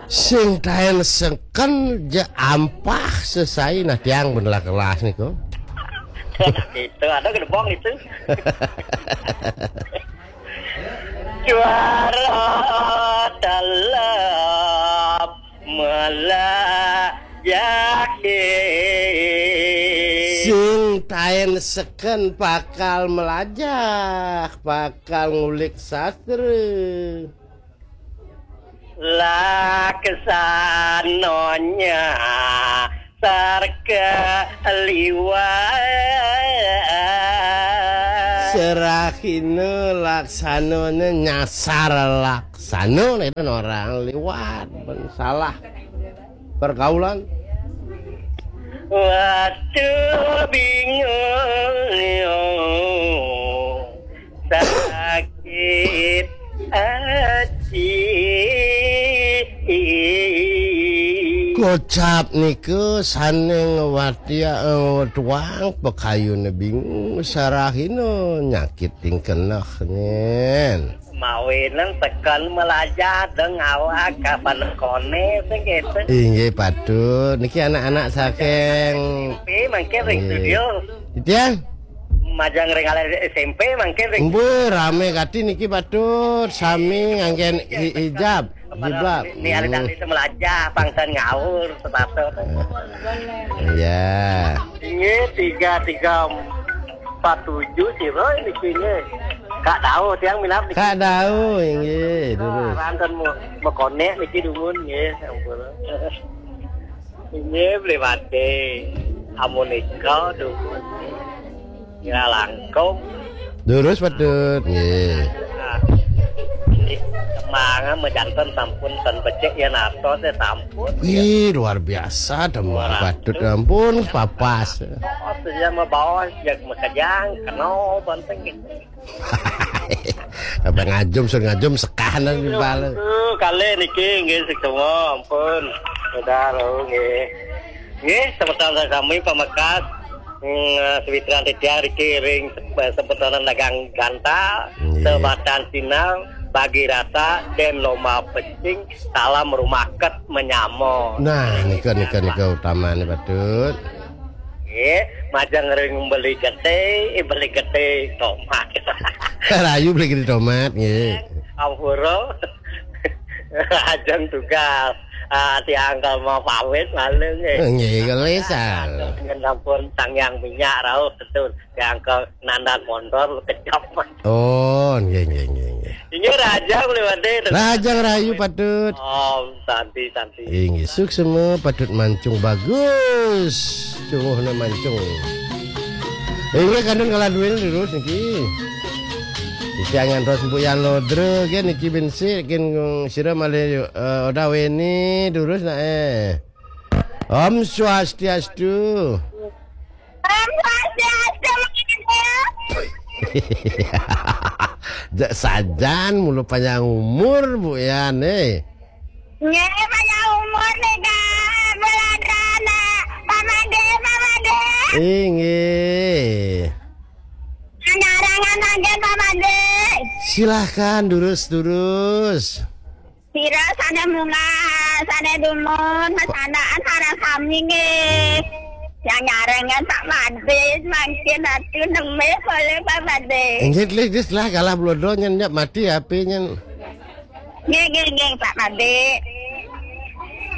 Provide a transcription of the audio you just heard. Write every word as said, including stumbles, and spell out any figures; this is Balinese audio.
Sing taén seken ja ampah sesai, nah tiang bener kelas niku. Itu ada gedebong itu. Juara dalam melajah. Sing taén seken bakal melajah, bakal ngulik sastra. Laksananya sarka liwat. Serahina laksananya nyasar laksana, nah, itu orang liwat, ben salah pergaulan. Waduh, bingung, sakit hati. Kocap nika sané ngwatya, eh, tuang pakayuné bingung, sarahina nyakit tingkeneh, nyén. Mawinan tekan melajah deng awak kapan koné sing gitu. Inggih patut. Niki anak-anak saking S M P mangkin ring Inggih. Studio. Titiang? Majeng ring alit S M P mangkin ring Mbuh, rame kati niki patut sami nganggén hi-, hijab, jilbab. Ni alit Hmm. Alit melajah pangsan ngaur sepatu. Iya. Ini tiga tiga empat tujuh sira niki nggih. Kak Dao tiang minab niki. Kak Dao, inggih, durus. Ranten mu-, mekonek niki dumun nggih, sampun. Inggih, Bli Made. Amun nika dumun. Kira langkung. Durus patut, nggih. Nah, ini semangat mejanten sampun ten becik ya nato teh sampun. Ih, luar biasa, demen Orang patut, ampun, papas. Oh, dia mau bawa, dia mau kejang, kenal, penting gitu. Apa ngajum, sur ngajum, sekahan dan bal. Tuh, kali niki, nggih, sing semua, ampun. Udah, lo, nggih. Nggih, semeton kami pamekas, mm, sawitran titiang riki ring sep-, sepetonan dagang gantal, Nggih. Sebatan sinau, bagi rasa, dan lomba pecing, salam rumaket menyamo. Nah, nika, nika, nika utamane patut. Nggih, majeng ring beli gede, eh, beli gede tomat. Rahayu beli gede tomat, nggih. Ampura. Ajeng tugas. Ah, tiang kal mau pamit malu, nggih. Nggih, kalesan. Dengan sampun tanggiang minyak rauh, betul. Tiang ke nandan mondor, kejam. Oh, nggih, nggih, nggih, nggih. Inggih, Raja, boleh wadé. Raja rahayu patut. Om Santi, Santi. Inggih, suksma patut mancung bagus. Sungguhna mancung. Inggih, kantun kalah duwin terus niki. Iki angan terus Mbok Yan Lodra, nggih, niki bin sik, kin sira malih, eh, Oda Weni, durus nak, eh. Om Swastiastu. Om Swastiastu, Mas. Jak sajan mula panjang umur, Bu Yan, eh. Nggih, panjang umur nika, Belanda, Pak Made, Pak Made. Inggih. Nyarangan mangkin, Pak Made. Silahkan, durus, durus. Sira sané munggah, sané dumun, masandakan sareng sami nggih. Yang nyarengan Pak Made, mangkin atuh nembe boleh Pak Made. Inggih, Lis, Lis, lah, kalah blodo nyen, nyap mati H P nyen. Nggih, nggih, nggih, Pak Made.